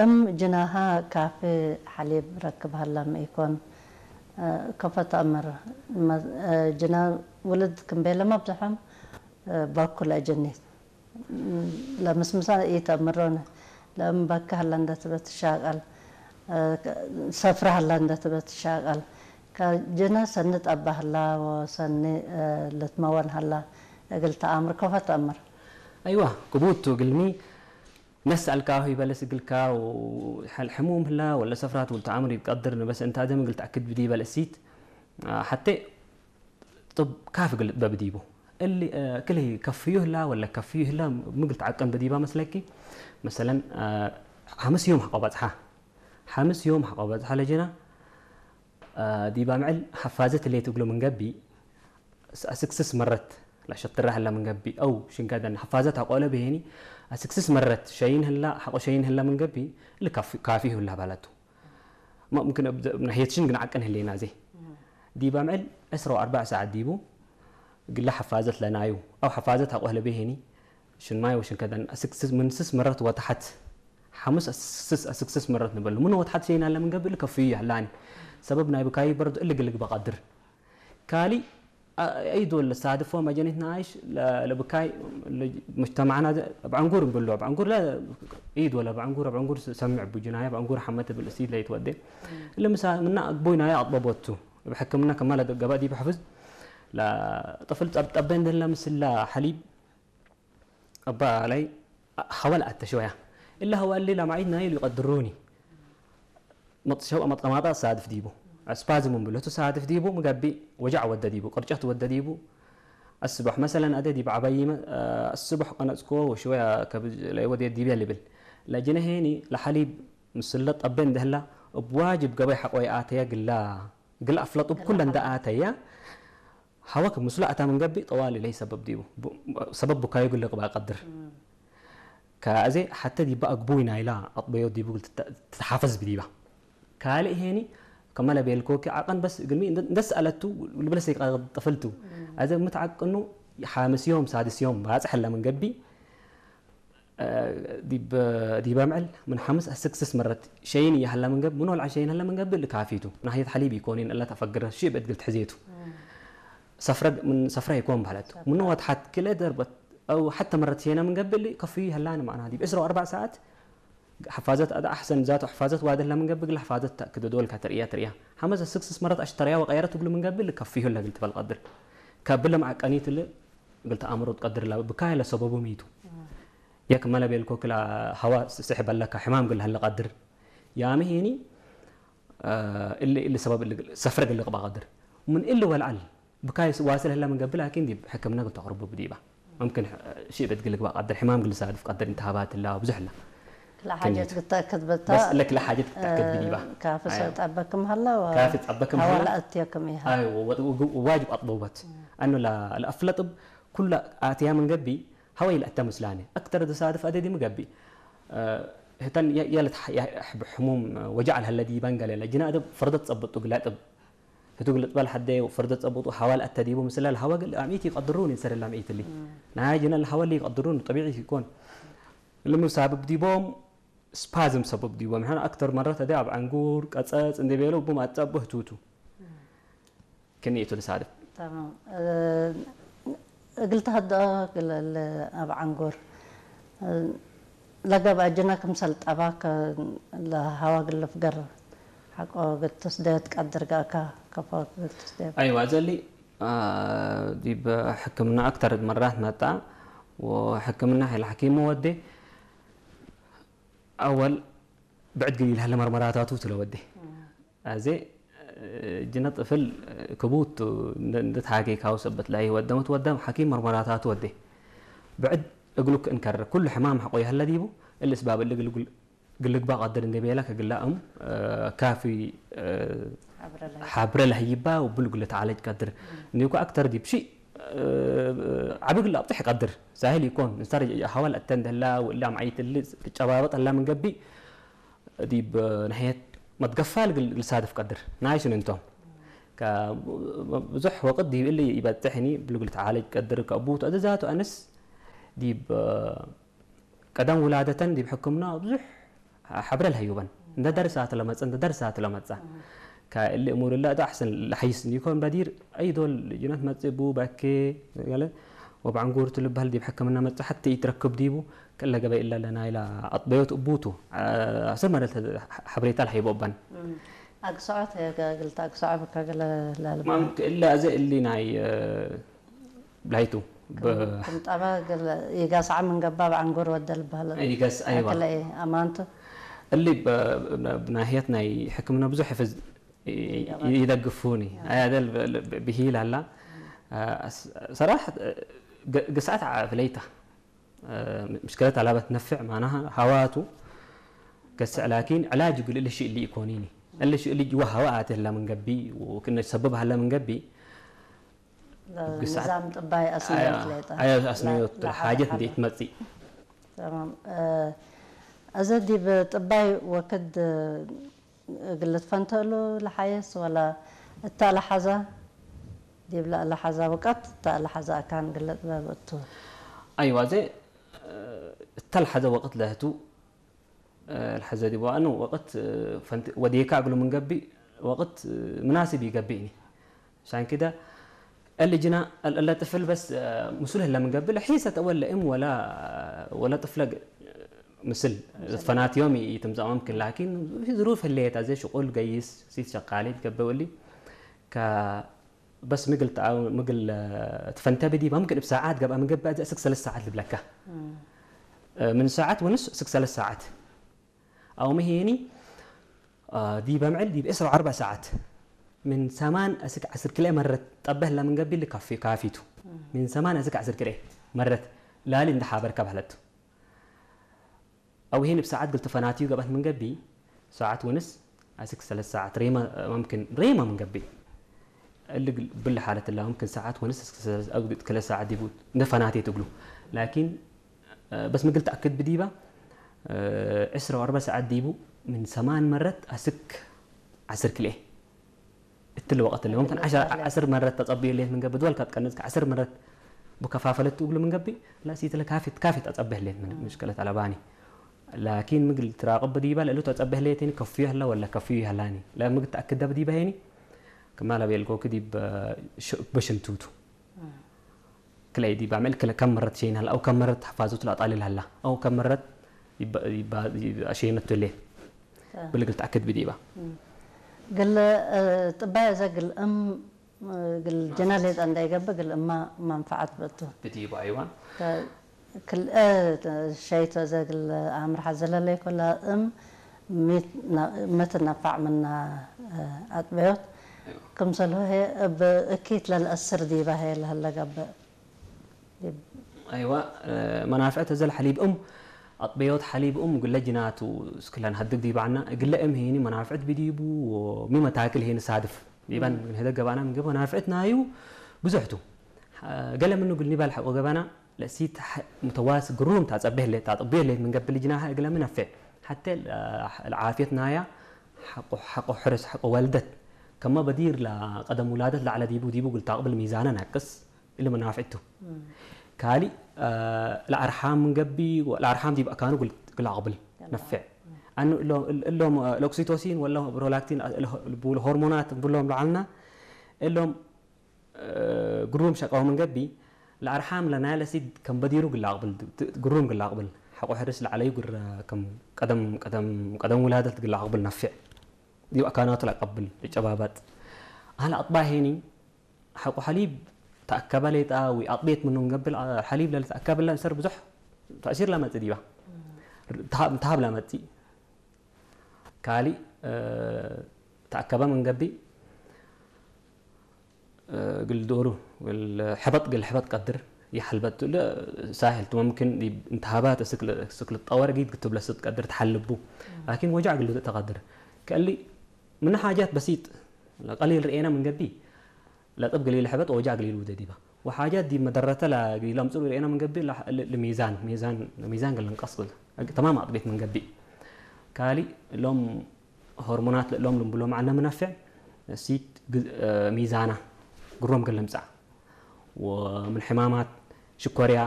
እም ጅናሃ ካፊ ሓሊብ ረክብ ሃላ ምኢኮን ከፈት ኣምር ጅና ውልድ ክንቤለ መብዝሖም ባኩል ኣጀኒት ለምስምሳ ኢተምሮነ ለእም ባካ ሃላ እንደትበት ትሻቀል ሰፍራ ሃላ እንደትበት ትሻቀል ከጅና ሰኒ ጠባ ሃላ ወሰኒ ልትመወን ሃላ እግል ተኣምር ከፈት ኣምር። ኣይዋ ክቡቱ ግልሚ ነስኣልካ ሆይ በለስ እግልካ ሕሙም ህላ ወለ ሰፍራት ውል ተኣምር ይቀድር ንበስ እንታ ደም እግል ተኣክድ ብዲ በለሲት ሓቴ ጥብ ካፍ እግል በብዲቡ እሊ ክልይ ከፍዩ ህላ ወለ ከፍዩ ህላ ምግል ተዓቀን በዲባ መስለኪ መሰለን ሓምስ ዮም ሓቆ በጽሓ ሓምስ ዮም ሓቆ በጽሓ ለጀና ዲባ ምዕል ሓፋዘት ሌት እግሎ ምንገቢ ኣስክስስ መረት ላሸትራ ህላ ምንገቢ ኣው ሽንጋደን ሓፋዘት ኣቆለ ብሄኒ ኣስክስስ መረት ሸይን ህላ ሓቆ ሸይን ህላ ምንገቢ ልካፊ ህላ ባላቱ ሙምክን ናሄትሽን ግን ዓቀን ህሌና ዘይ ዲባ ምዕል ዕስራ ወኣርባዕ ሰዓት ዲቡ ግላ ሓፋዘት ለናዩ ኣው ሓፋዘት ኣቆለ ብሄኒ ሽንማይ ወሽንከደን ኣስክስስ ምንስስ መረት ወተሓት ሓሙስ ኣስክስስ ኣስክስስ መረት ንበሉ ምኖ ወተሓት ሸይን ኣለ ምንገቢ ልከፍዩ ያላኒ ሰበብ ናይ ብካይ በርድ እልግልግ በቀድር ካሊ ኣይዶ ለሳድፎ መጀኒት ናይሽ ለብካይ مجتمعنا بعن قور نبلو بعن قور لا عيد ولا بعن قور بعن قور سمع بجناية بعن قور حمت بالأسيد لا يتودي اللي مسا منا أقبوي نايا أطببوتو بحكمنا كمال قبادي بحفظ لا طفل طبين دلا مسلا حليب أبا علي حوال أتى شوية إلا هو قال لي لا معيد نايل يقدروني مطشو مطقماطة صادف ديبو أسبازم من بلوتو صادف ديبو مقبي وجع ود ديبو قرجت ود ديبو الصبح مثلا أدي ديب عبايي الصبح قناتكو وشوية كبج لا يودي ديبي اللي بل لا جنهيني لحليب مسلط أبين دهلا بواجب قبي حقوي آتيا قلا قلا أفلط بكل أندا آتيا هواك مسلا أتا من قبي طوالي لي سبب ديبو سبب بكاي يقول لك بقدر ከዚ ሓተ ዲባ ኣግቡይ ናይላ ኣጥበዮ ዲቡ ትሓፈዝ ብዲባ ካልእ ሄኒ ከመለ ቤልኮኪ ዓቀን በስ ግልሚ እንደስ ኣለቱ ልብለሰ ይቀጥፍልቱ ኣዘ ምትዓቅኑ ሓምስ ዮም ሳድስ ዮም ባጽሕ ለምን ገቢ ዲበ ምዕል ምን ሓምስ ኣስክስስ መረት ሸይን ይሃላ ምን ገብ ምን ወልዓ ሸይን ሃላ ምን ገብ ልካፊቱ ናህየት ሓሊብ ይኮኒን እላ ተፈግረ ሽብ እድግል ትሕዜቱ ሰፍረ ምን ሰፍረ ይኮን ባህለት ምን ወትሓት ክለ ደርበት أو حتى مرة سينا من قبل كفي هلان معنا هذه بإسرة وأربع ساعات حفاظت أدا أحسن ذات حفاظت وهذا من قبل حفاظت كده دول كتريا تريا حمزة سكسس مرات أشتريا وغيرت تقول من قبل كفيه ولا قلت بالقدر كبل مع قنيت اللي قلت أمر قدر لا بكاي لا سببه ميتو ياك مالا بيلكو كلا هوا سحب لك حمام قل هلا قدر يا مهيني اللي اللي سبب اللي سفرق اللي قبا قدر من اللي والعل ብካይ ዋስል ህላ ምን ገብል ላኪን ዲብ ሕክምና ግን ተቅርቡ ብዲባ ممكن شيء بتقلق بقى قدر حمام قل صادف قدر انتهابات لا ብዙሕ ላ ክላ ሓጀት ክተእክድ በታ بس لك لا حاجة تتأكد بديبا ካፊ ሰልጣበክም ሃላ ካፊ ጸበክም ሃላ ሃላ ኣትየክም ኢሃ أيوة واجب أطلبت أنه لا الأفلط كل آتيها من قبي هو يلأتى مسلاني أكثر تصادف أدي مقبي هتن يلت حموم وجع الهلا ديبان قال لجنا أدب فرضت ጸብጡ ግላጥብ ህቱ ግልጥ በል ሓደይ ፈርደ ጸብጡ ሓዋል ኣተዲቡ ምስላ ለሃዋ ግል ኣሚት ይቀድሩን ይንሰር ላም ኢትሊ ናይ ጅነ ለሃዋ ሊ ይቀድሩን طبيعي ይኮን ለምሳብብ ዲቦም ስፓዝም ሰበብ ዲቦም ሕና ኣክተር መረት ኣደ ኣብ ዓንጉር ቀጸጽ እንደ ቤሎ ቡም ኣጸብ ህቱቱ ክንይቱ ልሳድፍ እግል ተሀድኦ ግለል ኣብ ዓንጉር ለገብ ኣጅነ ክምሰል ጠባከ ለሀዋ ግልፍ ገር ሐቆ ግትስደት ቀድር ጋእካ ከፎ ግትስደት። ኣይዋ ዘሊ ዲብ ሕክምና ኣክተር መራት መጣ ወሕክምና ሄል ሐኪሙ ወዴ ኣወል ብዕድ ግን ይልሃለ መርመራታቱ ትለወዴ ኣዜ ጅነ ጥፍል ክቡት እንድትሓጌ ካው ሰበት ላይ ወደመት ወደም ሓኪም መርመራታት ወዴ ብዕድ እግሉክ እንከረ ኩሉ ሕማም ሓቆ ይሃለ ዲቡ እልስ ባብ እሊ ግልግባ ቀድር እንደ ቤላ ከግላእም ካፊ ሓብረ ለህይባ ውብል ጉለ ተዓለጅ ቀድር እንዲኩ ኣክተር ዲብ ሺ ዓቢ ግላ ኣብጥሕ ቀድር ሳህል ይኮን ንሳር ሃዋል ኣተን ደላ ውላ ማዓይት እሊ ትጨባበጥ ኣላ ምን ገቢ ዲብ ናህየት መትገፋል ግልሳድፍ ቀድር ናይሽን እንቶም ብዙሕ ወቅት ዲብ እሊ ይበጥሕኒ ብልግል ተዓለጅ ቀድር ከቡ ተእዘዛቱ ኣንስ ዲብ ቀደም ውላደተን ዲብ ሕክምና ብዙሕ ሓብረ ለሀዩበን። እንደ ደርሳ ትለመጸ፣ እንደ ደርሳ ትለመጸ። ከእሊ እሙር ላ ዶ ኣሕሰን ለሐይስ ኒኮን በዲር፣ ኣይ ዶል ጅነት መጽቡ በኬ፣ ገለ ወብዓንጉር ትልበሃል ዲብ ሕክምና መጽ ሓቲ ይትረክብ ዲቡ፣ ከለ ገበ ኢላ ለና ኢላ ኣጥበዮት እቡቱ። ኣሰር መደል ሓብሬታ ለሀይቦ እበን። ኣግስዖት፣ ገ-፣ ግልታ ኣግስዖ በካ ገለ ላልባ። ማም-፣ እለ ኣዘ እሊ ናይ፣ እ፣ ብላይቱ። ብ-፣ ክም ጠባ ገለ ይጋስዓ ምን ገባ ብዓንጎር ወደል በህለ። ይገስ፣ ኣይዋ። ኣከለ ኣማንቱ። እሊ ብ-፣ ብ-፣ ብናህየት ናይ ሕክምና ብዙሕ ሕፍዝ ይ-፣ ይገባ። ይደግፉኒ። ኣያ ደል ብ-፣ ብ-፣ ብሂል ኣላ። እ፣ ስ-፣ ሰራሕ፣ እ፣ ግ-፣ ግስዓት ዓ-፣ ፍለይታ። እ፣ ምሽክለት ኣላበት ነፍዕ ማናሃ ሃዋቱ ገስዕ ላኪን ዕላጅ ግል እልሽ እሊ ይኮኒኒ። እልሽ እሊ ጅዋ ሃዋ ኣትህላ ምን ገቢ፣ ወክነ ሰበብ ሃላ ምን ገቢ፣ ግስዓት ንዛም ጥባይ ኣስነዮት ኣያ-፣ ሌጣ። ኣያ ኣስነዮት ላ-፣ ላ-፣ ሓጀት ሓላ። እንዴት መጺ። ተማም። እ፣ እዚ ዲብ ጥባይ ወክድ፣ እ፣ ግልት ፈንተሉ ለሓየስ ወላ እታ ለሓዛ ዲብ ላ-፣ ለሓዛ ወቀት እታ ለሓዛ ኣካን ግለ ጥበብ እቱ። ኣይዋ፣ ዘ-፣ እ፣ እታ ለሓዘ ወቅት ለህቱ፣ እ፣ ለሓዘ ዲብ ዋኑ ወቅት፣ እ፣ ፈንት-፣ ወዴካ እግሉ ምን ገቢ ወቅት፣ እ፣ ምናስብ ይገቢእኒ። ሻን ክደ እሊ ጅና እለ ጥፍል በስ፣ እ፣ ምስሉ ህለ ምን ገቢ ለሒሰ ተወለ እም ወላ፣ ወላ ጥፍለ ግ-፣ ምስል ፈናትዮም ይትምጻእ መምክን፣ ላኪን ዝሩፍ ህለየት ኣዘ ሽቁል ገይስ ሲት ሸቃሊት ገበ ወሊ ከ-፣ በስ ምግል ተኣ-፣ ምግል፣ እ፣ ትፈንተ ብዲ መምክን እብ ሰዓት ገብኣ ምን ገቢ ኣዘ እስክ ሰለስተ ሰዓት ልብለካ። እ፣ ምን ሰዓት ወንስ እስክ ሰለስተ ሰዓት። ኣው መሄኒ፣ እ፣ ዲብ ኣምዕል ዲብ ዕስራ ወኣርባዕ ሰዓት ምን ሰማን እስክ ዓስር ክልኤ መረት ጠበህ ለምን ገቢ ልካፊ-፣ ካፊቱ። ምን ሰማን እስክ ዓስር ክልኤ መረት ላሊ እንደ ሓበርካ ባህለቱ። ኣው ሄኒ ብሰዓት ግል ተፈናትዩ ገባት ምን ገቢ ሰዓት ወንስ ኣስክ ሰለስተ ሰዓት ሬማ መምክን ሬማ ምን ገቢ እሊ ግል-፣ ብል ሓለት ላ መምክን ሰዓት ወንስ እስክ ሰለስተ፣ ኣው ግል ክለ ሰዓት ዲቡ እንደ ፈናቴ ትግሉ። ላኪን፣ እ፣ በስ ምግል ተኣክድ ብዲባ፣ እ፣ ዕስራ ወኣርባዕ ሰዓት ዲቡ ምን ሰማን መረት ኣስክ ዓስር ክልኤ። እትል ወቀት ለ፣ መምክን ዓሸር፣ ዓስር መረት ተጸብዩ ሌት ምን ገቢ፣ ድወል ካብ ትቀንጽ ከ ዓስር መረት ብከፋፈለት ትብሉ ምን ገቢ፣ ላ ሲትለ ካፊት፣ ካፊት ኣጸብህ ሌት ምን ምሽከለት ኣለባኒ። ላኪን ምግል ትራቅብ ብዲባ፣ ለእሉ ተጸብህ ሌት ኒ ከፍዩ ህላ ወላ ከፍዩ ይህላኒ። ላ ምግል ተኣክደ ብዲባ ሄኒ፣ ከማላ ቤልጎ ክዲብ፣ እ፣ ሽ-፣ በሽንቱቱ። ክለይ ዲባ፣ ምዕል ክለ-፣ ከም መረት ሸይን ሀላ፣ ኣው ከም መረት ሓፋዙት ላጣሊል ሀላ፣ ኣው ከም መረት ይባ-፣ ይባ-፣ ይባ-፣ ሸይነቱ ሌ። አ። ብልግል ተኣክድ ብዲባ። እም። ግል፣ እ፣ ጥባይ እዘ ግል እም፣ እ፣ ግል ጀና ሌጣ እንዳይገብ ግል እማ መንፈዓት በቱ። ብዲባ፣ ኣይዋ። ከ-፣ ክል-፣ እ፣ ሸይቶ እዘ ግል ኣምርሓ ዘለለይ ኮላ እም፣ ሚት ና-፣ መትነፋዕ ምና፣ እ፣ ኣጥበዮት። ኣይዋ። ክምሰልሁ ሄ እብ እኪት ለልአስር ዲባ ሄ ለሀለ ገብእ። ዲብ ኣይዋ፣ እ፣ መናፍዕት እዘ ለሐሊብ እም፣ ኣጥበዮት ሐሊብ እም ግለ ጅናቱ እስክለን ሀድግ ዲባዕና፣ ግለ እም ሄኒ መናፍዕት ብዲቡ፣ ወሚ መታክል ሄኒ ሳድፍ። ዲባን እም። ንህደ ገባና ምግብ መናፍዕት ናዩ ብዙሕቱ። ሐ-፣ ገለ ምኑ ግል ኒባል ሐቆ ገባና፣ ለእሲት ሐ-፣ ሙተዋስ ግሩም ታጸብህ ለ-፣ ታጥብዮ ለ ምን ገብል ጅናሃ እግለ ምነፍዕ። ሐተ ለ-፣ ለዓፍየት ናያ ሐቆ፣ ሐቆ ሕርስ፣ ሐቆ ወልደት። ከማ በዲር ለቀደም ውላደት ለዓለ ዲቡ፣ ዲቡ ግል ታቅብል ሚዛነ ናቅስ። እሊ መናፍዕቱ። እም። ካሊ፣ እ፣ ለኣርሓም ምን ገቢ፣ ለኣርሓም ዲብ ኣካኑ ግል-፣ ግል ኣቅብል ነፍዕ። እም። ኣኑ እሎ-፣ እል-፣ እሎም፣ እ፣ ለኦክሲቶሲን ወላ ፕሮላክቲን፣ እ፣ ለ-፣ ብሎ ሆርሞናት ብሎም ለዓልና፣ እሎም፣ እ፣ ግሩም ሸቃው ምን ገቢ፣ ለኣርሓም ለናይ ለሲድ ከም በዲሩ ግል ኣቅብል፣ ት-፣ ግሩም ግል ኣቅብል። ሐቆ ሕርስ ለዓለዩ ግረ ከም ቀደም፣ ቀደም፣ ቀደም ውላደት ግል ኣቅብል ነፍዕ። ዲብ ኣካናቱ ለቀብል፣ ልጨባበጥ። ኣህል ኣጥባ ሄኒ፣ ሐቆ ሐሊብ ተኣከበ ሌጣ ወይ ኣጥቤት ምኑ ንገብል፣ አ-፣ ሐሊብ ለልተኣከበላ ሰር ብዙሕ ተእሲር ለመጽእ ዲባ። ተሃብ፣ ተሃብ ለመጽእ። ካሊ፣ እ፣ ተኣከበ ምን ገቢ፣ እ፣ ግል ዶሩ፣ ግል ሕበጥ፣ ግል ሕበጥ ቀድር ይሐልበጥ ለ ሳህል ቱ መምክን ዲ-፣ እንተሃባ ተስክል፣ ስክል ጠወር ጊድ ክትብለ ስትቀድር ተሐልቡ። ላኪን ወጃዕ ግል ተቀድር። ከሊ ምን ሓጃት በሲጥ፣ ቀሊል ርኤና ምን ገቢ፣ ለጥብ ገሊል ሕበጥ ወጃ ገሊል ውደ ዲባ። ወሓጃት ዲብ መደረተ ለገሊል ኣምጽኡ ርኤና ምን ገቢ ለ-፣ ለ-፣ ለሚዛን፣ ሚዛን፣ ሚዛን ገለ ንቀስ ብለ። ተማም ኣጥቤት ምን ገቢ። ካሊ ሎም ሆርሞናት ሎም ልንብሎም ዓነ ምነፍዕ ሲት ግ-፣ እ፣ ሚዛና ግሮም ገለ ምጻእ። ወምን ሕማማት ሽኮርያ